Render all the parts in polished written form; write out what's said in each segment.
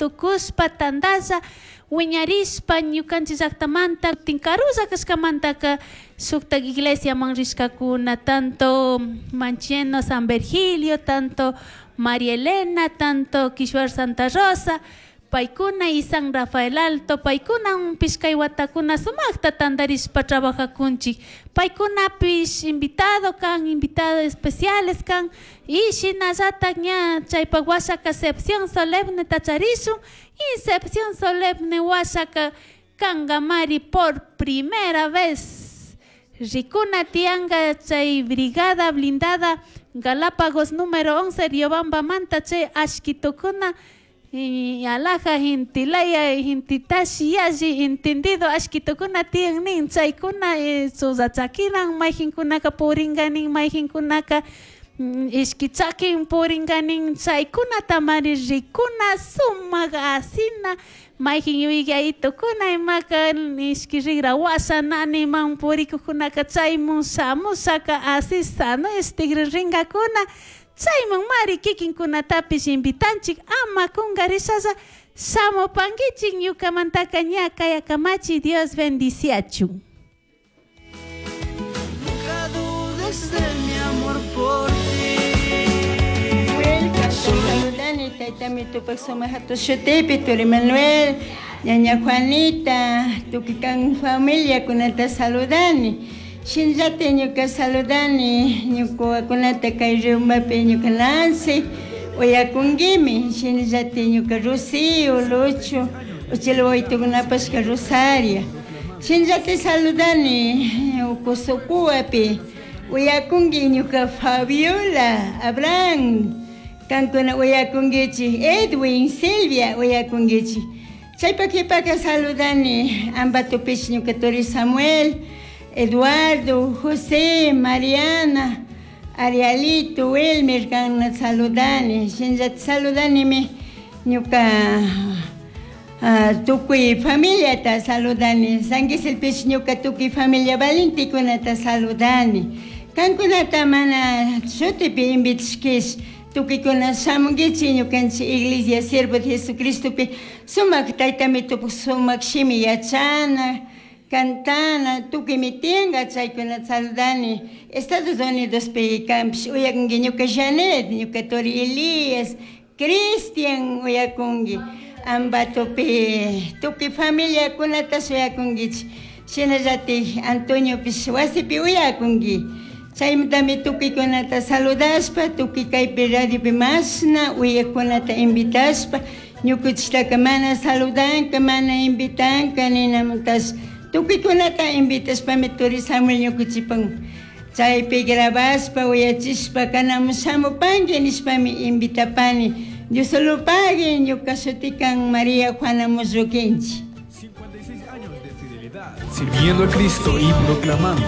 Tukushpa tandalla wiñarishpa ñukanchik llaktamanta tinkarulla kashkamantaka shuktak iglesiaman rishkakuna, tanto Mancheno San Virgilio, tanto María Elena, tanto Quishuar Santa Rosa, paykuna y San Rafael Alto, paykunapish kay watakuna sumakta tantarishpa trabajakunchik, paykunapish invitado kan, invitado especiales kan, y shinallatak ña chaypak washaka recepción solemne tacharishun, y recepción solemne washaka kankamari por primera vez rikuna tiyanka chay brigada blindada Galápagos número 11 Riobambamanta chay ashkitukuna y alaja intilaya intitashi yalli entendido ashkitukuna tiyan nin chaykuna susachakinan mayjinkunaka purinka nin, mayjinkunaka ishki chakin purinka nin, chaykunatamari rikuna sumak asina mayjin yuyaytukuna imaka ishki rigra washa naniman purikukunaka chaymun shamushaka asi sano tigrinkakuna, chayman mari kikinkunatapish invitanchik ama kunkarishalla shamupankichik ñukamantaka ña kayakamachi. Dios bendiciachun. Nunca dudes de mi amor por ti. Saludani taytami tupak sumak hatun shutipi turi Manuel, ñaña Juanita, tukuy kan familiakunata saludani. Shinllata ñuka saludani ñuka wawakunata kay Riumapi ñuka Nancy uyakunkimi, shinallata ñuka Rocío, Lucho, uchila wawitukunapash Rosaria. Shinallata saludani Ucusucuapi uyakunki ñuka Fabiola, Abraham, kankuna uyakunkichik, Edwin, Silvia uyakunkichik. Chaypak qhipaka saludani Ambatopish ñuka turi Samuel, Eduardo, José, Mariana, Arialito, Wilmer kankuna saludani. Shinallata saludanimi ñuka tukuy familiata saludani. San Quisilpish ñuka tukuy familia valentekunata saludani. Kankunata mana shutipi invitashkish tukuykuna shamunkichik ñukanchik iglesia siervo de Jesucristopi sumak taytami tupak sumak shimi yachana, cantana, tukuymi tiyanka chaykunata saludani. Estados Unidospi kanpish uyakunki ñuka Janet, ñuka turi Elias, Cristian uyakunki. Ambatopi tukuy familiakunata shuyakunkichik. Shinallatik Antoniopish wasipi uyakunki. Chaymantami tukuykunata saludashpa, tukuy kaypi radiopi mashna uyakunata invitashpa, ñukuchiktaka mana saludanka, mana invitanka ninamuntash tukuykunata invitashpami turi Samuel ñukuchipan chaypi grabashpa uyachishpa kanamun shamupanki nishpami invitapani. Dios solo pague ñuka shutikan María Juana Musruquinchi. 56 años de fidelidad, sirviendo a Cristo y proclamando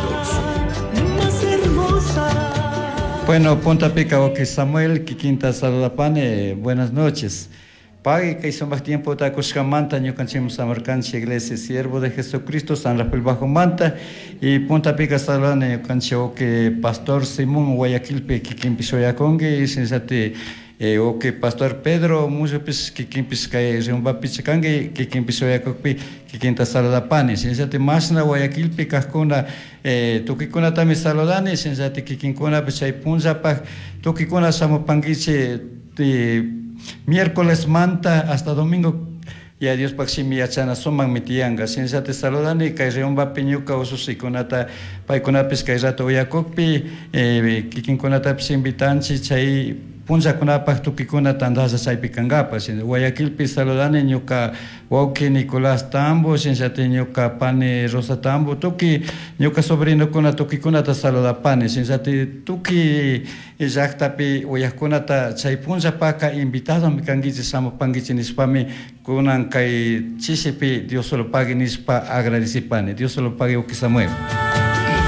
Más hermosa. Bueno, Punta Pica, ok, Samuel, kikinta saludapani, buenas noches. Pagui kay sumak tiempo ta kushkamanta ñukanchikmi samarkanchik iglesia siervo de Jesucristo San Rafael Bajo Manta y Punta Pica saludani ñukanchik ok Pastor Simón Guayaquilpi kikinpish uyakunki y shinallati ok Pastor Pedro Mullupis kikinpish kay Riumbapi kanki kikinpish uyakukpi kikinta saludapani, shinallati mashna Guayaquilpi kajkuna tukuykunatami saludani, shinallati kikinkunapish chay punllapak tukuykuna shamupankichik miércoles manta hasta domingo ya Diospak shimi yachana sumakmi tiyanka, shinallati saludani kay Riumbapi ñuka usushikunata paykunapish kay rato uyakukpi kikinkunatapish invitanchik chay punllakunapak tukuykuna tandalla chaypi kankapak. Guayaquilpi saludani ñuka wawki Nicolás Tambo, shinallati ñuka pani Rosa Tambo, tukuy ñuka sobrinokuna tukuykunata saludapani, shinallati tukuy llaktapi uyakkunata chay punllapaka invitadomi kankichik shamupankichik nishpami kunan kay chishipi Dios solo pague nishpa agradecipani. Dios solo pague, uki Samuel.